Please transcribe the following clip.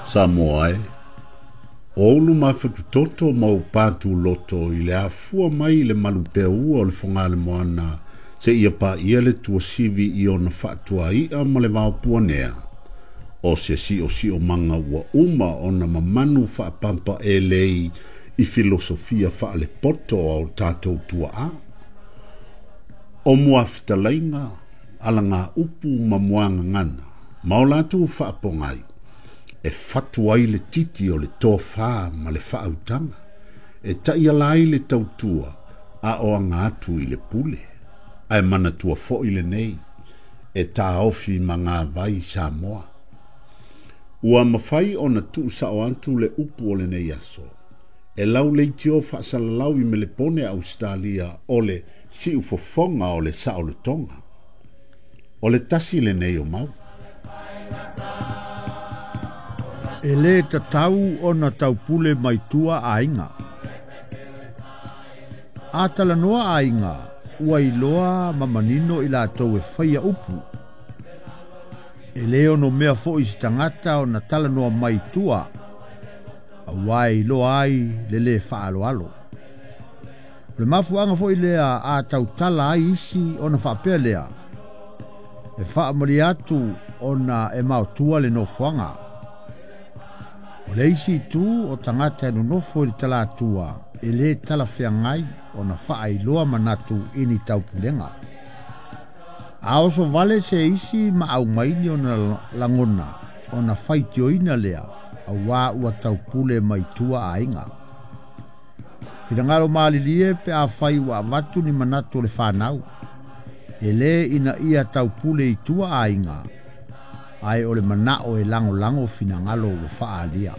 Samoa e, o ou luma fatutoto ma ou pātūloto i le afua mai i le malupeaua o le Fogalemoana seia paia le tuasivi i ona faatuai'a ma le vaopuanea, o se siosiomaga ua uma ona mamanu faapapaelei i filosofia faalepoto a o tatou tuaa. O muafetalaiga, alagaupu ma muagagana, ma o latou faapogai, e fatu ai le titi o le tofā ma le faautaga, e taiala ai le tautua a o aga atu i le pule. Ae manatua foi lenei, e taofi magavai Samoa. Ua mafai ona tuusao atu le upu o lenei aso, e lauleitio faasalalau i Melepone Ausetalia o le siufofoga o le saolotoga. O le tasi lenei o mau. E lē tatau ona taupule mai tua aiga. A talanoa aiga, ua iloa ma manino i latou e faia upu. E lē onomea foʻi se tagata ona talanoa mai tua, auā e iloa ai le lē faaaloalo. O le mafuaaga foʻi lea a tautala ai isi ona faapea lea, e faamalie atu ona e maotua le nofoaga. O le isi itu o tagata e nonofo i le talatua e lē talafeagai ona faailoa manatu i ni taupulega. A oso vale se isi ma aumaini ona lagona ona faitioina lea auā ua taupule mai tua aiga. Finagalo malilie pe afai ua avatu ni manatu o le fanau. E lē ina ia taupule i tua aiga, ae o le manao e lagolago finagalo ua faaalia.